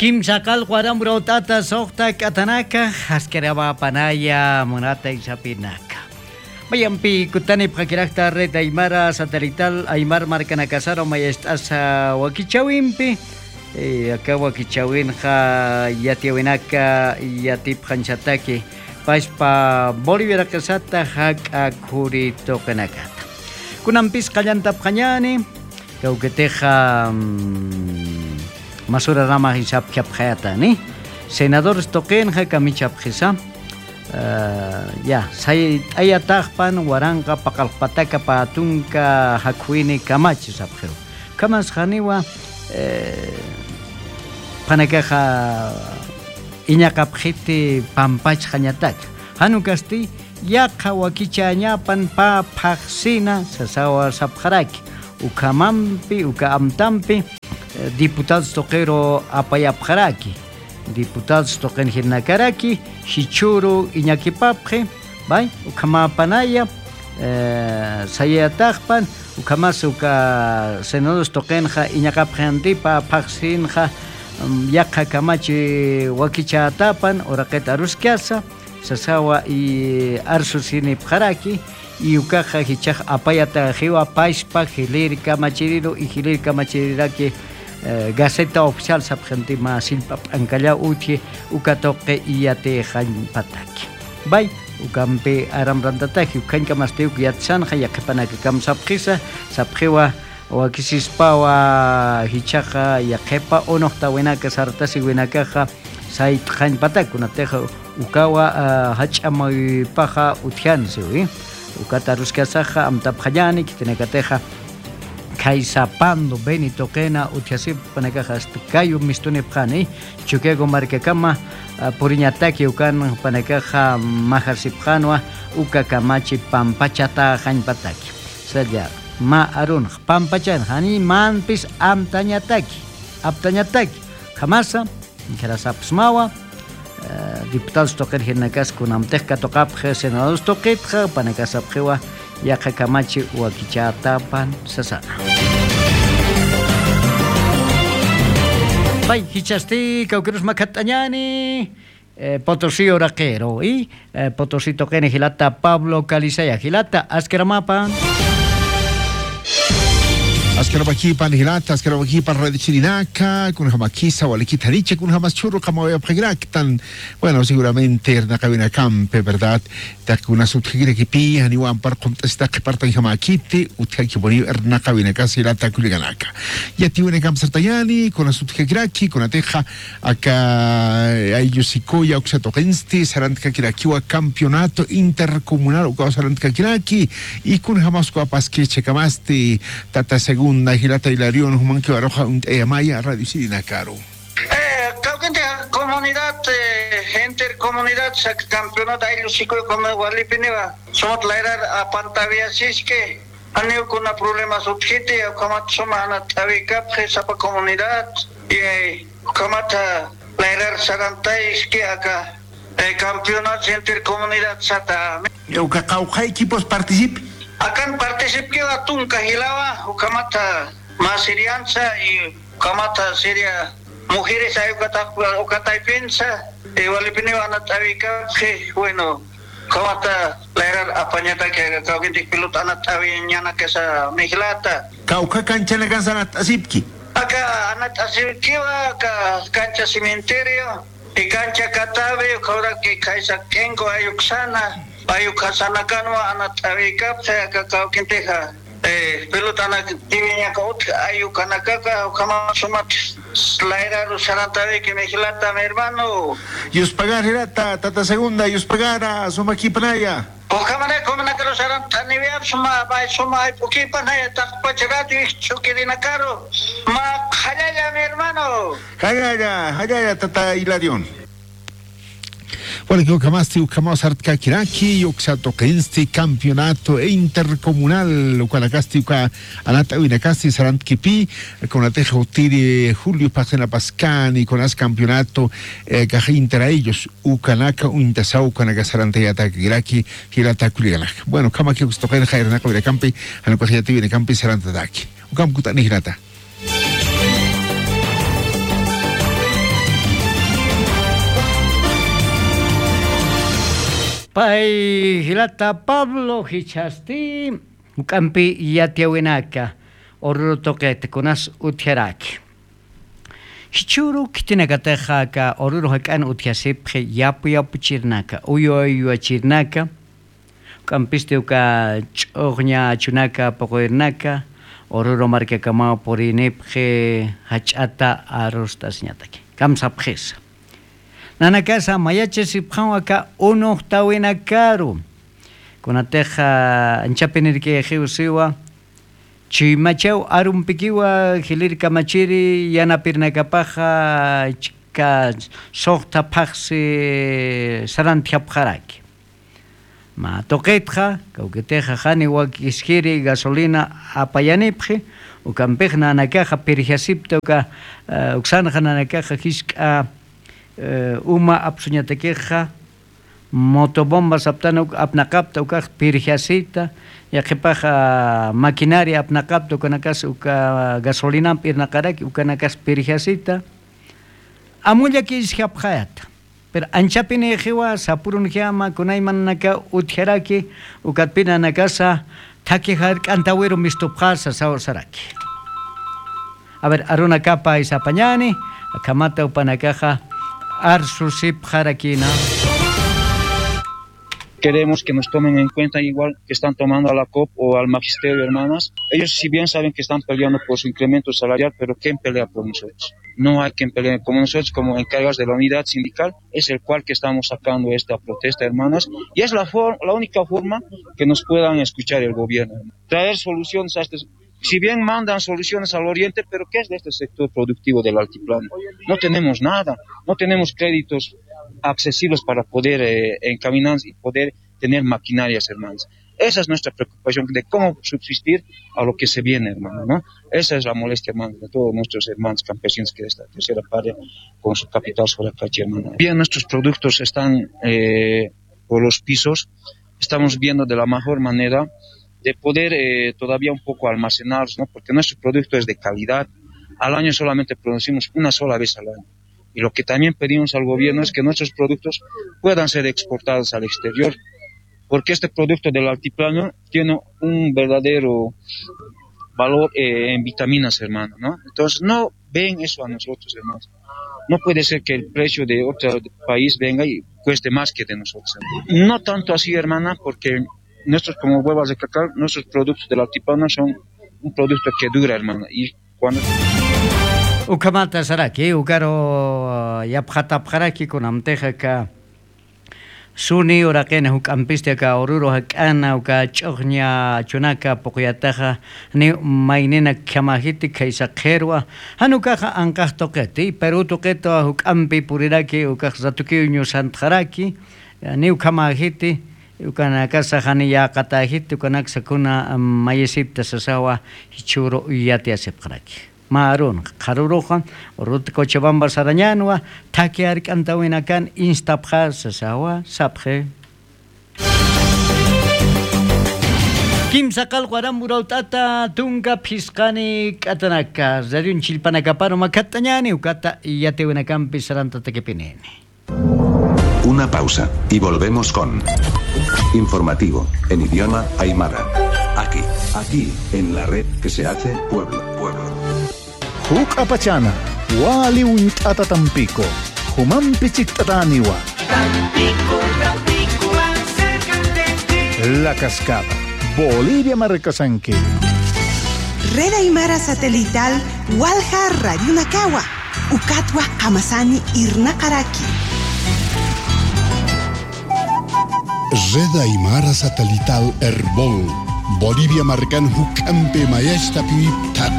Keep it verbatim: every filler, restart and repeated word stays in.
Kimsa qallqu aram urut'ata suxta k'atanaka, askiramapanaya munata isapinaka. Mayampi kutanipxakirakta Red Aymara Satelital Aymar markanakasaru mayast'asa wakichawimpi, eh, aka wakichawinxa yatiyawinaka yatipxañsataki paspa Boliviaraqisata jak'a khuri tuqinakata. Kunampis qallantapxañäni, kawkitixa, mm, masuraramax isapxapxayatani. Senadores tuqinxa kamichapxisa, eh, ya, sayt'ayataxpan waranqa paqallqpataka pä tunka jakhuwini kamachi sapxiw. Khamas janiwa, eh, qhanakaxa iñaqapxiti pampachxañataka. Jan ukasti, yaqha wakichäñapan pä phaxsina sasawa sapxaraki. Ukhamampi, uka amtampi, eh, diputados tuqiru apayapxaraki. Diputados tuqin jirnakaraki, jichhüru iñakipapxi, bay, ukhamäpanaya, eh, sayayataxpan, ukhamas uka senadores tuqinxa iñaqapxi jantipa phaxsinxa, mm, yaqha kamachi wakichätapan, uraqit aruskasa, sasawa i arsusinipxaraki, i ukaxa jichhax apayataxiwa paspa jilïr kamachiriru, i jilïr kamachiriraki, eh, Gaceta Oficial sapxi janti mä sillp'a p'ankallaw utji, uka tuqi iyatixañpataki. Bay, ukampi aram rantataki, ukhañkamasti uk yatsanxa, yaqhipanakakam sapxisa, sapxiwa, wakisispawa jichhaxa yaqhipa unuxtawinaka sartasiwinakaxa sayt'xañpatak, kunatixa ukawa, ah, jach'amuypaxa utjansiwi. Ukat aruskasaxa amtapxañäni, khitinakatixa khaysa Pando Beni tuqina utjasipxpanakaxa hasta kayu mistunipxani, Chukiyawu markakama, ah, puriñataki ukanpanakaxa majarsipxanwa uka kamachi pampachatäxañpataki. Salla, mä arunx, pampachanx, jani manpis amtañataki, aptañataki, khamasa, kharasapxsmawa, eh, diputados tuqir jirnakas kunamtix katuqapxi senadores tuqitxa, panakasapxiwa, yaqha kamachi wakichätapan sasana. Pay, jichhasti kawkirus makhatt'añäni, eh, Potosí uraqiru, y, eh, Potosí tuqini jilata Pablo Calizaya, jilata, askiramapan. Askiramakipan jilata, askiramakipan radiochirinaka, kunjamakisa, walikit janicha, kunjamas chhüru qamawayapxakiraktan. Bueno, seguramente irnaqawinakampi, ¿verdad? Taqi kunas utjakirakipi, janiw ampar qumt'asita qhipartanjamäkiti, utjakipuniw irnaqawinakas jilata kullakanaka. Yatiyawinakamp sartañäni, kunas utjakiraki, kunatixa, aka, eh, ayllu sikuya uksa tuqinsti, sarantkakirakiwa campeonato intercomunal, ukaw sarantkakiraki, y kunjamas ukaw paskich kamasti, tata segunda, jilata Hilarión, jumankiw aruxa uñt'ayamaya, radio chirinakaru. Eh, kawkinti comunidad, eh, intercomunidad, sak campeonato ayllu sikuy, como walipiniwa, sumata layrar apantawiyasiski, janiw kuna problemas utjiti, ukhamat suma anat'awikapxi sapa comunidad, y, eh, ukhamata layrar sarantayski aka, eh, campeonato intercomunidad sata. Uka qawqha equipos participi. Akan participkiwa tunka jilawa, ukhamata mä siriansa, y ukhamata siria mujeres ay ukata-, ukataypinsa, eh, walipiniw anat'awikapxi, bueno, ukhamata layrar apañataki aka kawkinti pelota anat'awiñanakasa jilata. Kawkha canchanakansa anat'asipki. Aka anat'asipkiwa, aka cancha cementerio, y cancha Catavi, ukhawraki khaysa k'inku ay uksana, ay uksanakanwa anat'awikapxi aka kawkintixa. Eh, pelotanakatiwiñaka utji, ay ukanakaka, ukhamat sumat layraru sarantawiki jilata, mi hermano. Yuspagar jilata, tata segunda, yuspagara, sumakipanaya. Ukhamaraki jumanakaru sarantaniwiyap, suma, bay, suma, ay, p'ukipanaya, taqpach radio, ijchukirinakaru. Mä qhallalla, mi hermano. Jallalla, jallalla, tata Hilarión. Bueno, que ukhamasti, ukhamaw sartkakiraki, uksa tuqinsti campeonato intercomunal, ukanakasti uka anat'awinakasti sarantkipi, kunatixa utiri Julio phaxsinapaskani, kunas campeonato, eh, kax inter ellos, ukanaka uñtasaw, ukanaka sarantayatakiraki, jilata kullakanaka. Bueno, ukhamaki uksa tuqinxa irnaqawinakampi, jan ukax yatiyawinakampi sarantataki. Ukham kut'ani jilata. Ay, jilata Pablo, jichhasti juk'ampi yatiyäwinaka Oruro tuqit kunas utjaraki. Jichhüru khitinakatix aka Oruro jak'an utjasipxi yapu yapuchirnaka, uywa uywachirnaka, juk'ampisti uka ch'uxña achunaka puquyirnaka, Oruro markakamaw purinipxi jach'ata arust'asiñataki. Kamsapxisa. Nanakasa mayachasipxaw aka unuxtawinakaru. Kunatixa anchapinirkixiw siwa, chuymachaw arumpikiwa jilïr kamachiri yanapirnakapaxa chika suxta phaxsi sarantjapxaraki. Mä tuqitxa, kawkitixa janiw wak iskiri gasolina apayanipxi, ukampix nanakaxa pirjasipta uka, eh, uksanxa nanakaxa jisk'a, eh, uma apsuñatakixa, motobomba saptan uk apnaqapta ukax pirjasita, yaqhipaxa maquinaria apnaqapta ukanakas uka gasolinamp irnaqaraki, ukanakas pirjasita, amullaki iskapxayata. Pero anchapinixiwa sapurunjama kunaymananaka utjaraki, ukatpinanakasa thakhi jark'antawiru mistupxasa saw saraki. A ver, arunakapa isapañani, akhamata upanakaxa arsusipxarakina. Queremos que nos tomen en cuenta igual que están tomando a la COP o al magisterio, hermanas. Ellos, si bien saben que están peleando por su incremento salarial, pero ¿quién pelea por nosotros? No hay quien pelee. Como nosotros, como encargados de la unidad sindical, es el cual que estamos sacando esta protesta, hermanas. Y es la for-, la única forma que nos puedan escuchar el gobierno. Traer soluciones a este, si bien mandan soluciones al oriente, pero ¿qué es de este sector productivo del altiplano? No tenemos nada, no tenemos créditos accesibles para poder, eh, encaminar y poder tener maquinarias, hermanos. Esa es nuestra preocupación de cómo subsistir a lo que se viene, hermano, ¿no? Esa es la molestia, hermano, de todos nuestros hermanos campesinos que de esta tercera parte con su capital Soracachi, hermano. Bien, nuestros productos están, eh, por los pisos. Estamos viendo de la mejor manera de poder, eh, todavía un poco almacenarlos, ¿no? Porque nuestro producto es de calidad. Al año solamente producimos una sola vez al año. Y lo que también pedimos al gobierno es que nuestros productos puedan ser exportados al exterior, porque este producto del altiplano tiene un verdadero valor, eh, en vitaminas, hermano, ¿no? Entonces, no ven eso a nosotros, hermano. No puede ser que el precio de otro país venga y cueste más que de nosotros, hermano. No tanto así, hermana, porque nuestros, como vuelvo a recalcar, nuestros productos del altiplano son un producto que dura, hermana, y cuando... Ukhamata saraki, ukaru, ah, yapxatapxaraki kunamtix aka suni uraqina juk'ampisti aka Oruro jak'ana, uka ch'uxña achunaka puquyataxa, ni maynina khamäjiti khaysa qhirwa, jan ukaxa anqax tuqiti, Perú tuqitwa juk'ampi puriraki, ukax ratukiw ñusantxaraki, ni ukhamäjiti, ukanakasa jani yäqatäjiti, ukanaksa kuna, am, mayisipta sasawa, jichhüru yatiyasipxaraki. Mä arunxa, qharüruxa, Oruro Cochabamba sarañänwa, thakhi jark'antawinakan instapxä sasawa, sapxi. Kimsa qallqu aram urawt'ata tunka phisqani k'atanaka, radioñ chillpanakaparu makhatt'añäni, ukata yatiyawinakampi sarantatakipinini. Una pausa, y volvemos con Informativo, en idioma aymara. Aquí, aquí, en la red que se hace pueblo, pueblo. Juk'apachana, wali uñt'ata Tampico, jumampi chikt'atäniwa. Tampico, Tampico, más cerca de ti. La Cascada, Bolivia markasanki. Red Aymara Satelital, walja radionakawa. Ukatwa qamasani irnaqaraki. Red Aymara Satelital Erbol, Bolivia markan juk'ampi mayachtapi thak